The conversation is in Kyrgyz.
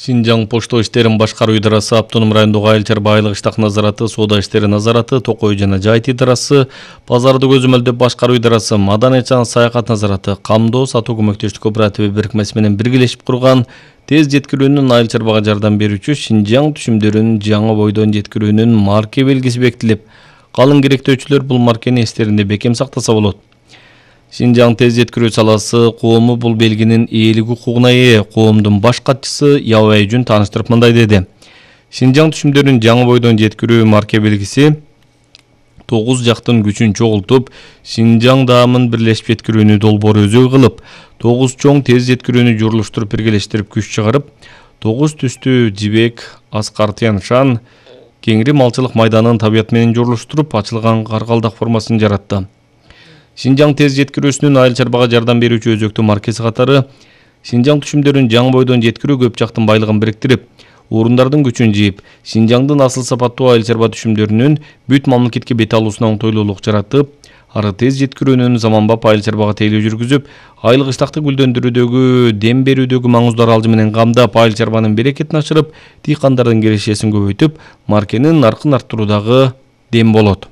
Синжаң Почто иштерин башкаруу идарасы, Автоном райондогу Айыл чарба айлык иштак назараты, соода иштери назараты, Токой жана Жайыт идарасы, Базарды көзөмөлдөп башкаруу идарасы, Маданият жана саякат назараты, Камдоо сатуу көмөктөштүк кооперативи бирикмеси менен биргелешип курган тез жеткирүүнүн айыл чарбага жардам берүүчү Синжаң түшүмдөрүн жаңы бойдон жеткирүүнүн марке белгиси бекитилип, калың керектөөчүлөр бул маркени эстеринде бекем сактаса болот. Синжаң тез жеткирүү саласы коому бул белгинин ээлик укугуна ээ. Коомдун баш катчысы Ябай Жүн тааныштырып мындай деди. Синжаң түшүмдөрүн жаңы бойдон жеткирүү марке белгиси 9 жактын күчүн чогултуп, Синжаң даамын бирлешип жеткирүүнү долбоору өзөй кылып, 9 чоң тез жеткирүүнү журулуштуруп биргелештирип күч чыгарып, 9 түстүү жибек, аскар тяншан, кеңири малчылык майданын табият менен журулуштуруп, ачылган каргалдак формасын жаратты. Синжаң тез жеткирүүсүнүн айыл чарбага жардам берүүчү өзөктүү маркеси катары Синжаң түшүмдөрүн жаңы бойдон жеткирүү көп жактын байлыгын бириктирип, орундардын күчүн жийип, Синжаңдын асыл сапаттуу айыл чарба түшүмдөрүнүн бүт мамлекетке бет алуусуна оңтойлуулук жаратып, ары тез жеткирүүнүн заманбап айыл чарбага тейлөө жүргүзүп, айлык иштакты гүлдөндүрүүдөгү, дем берүүдөгү маңыздуу аралжы менен камдап, айыл чарбанын берекетин ашырып, дыйкандардын кирешесин көбөйтүп, маркенин наркын арттыруудагы дем болот.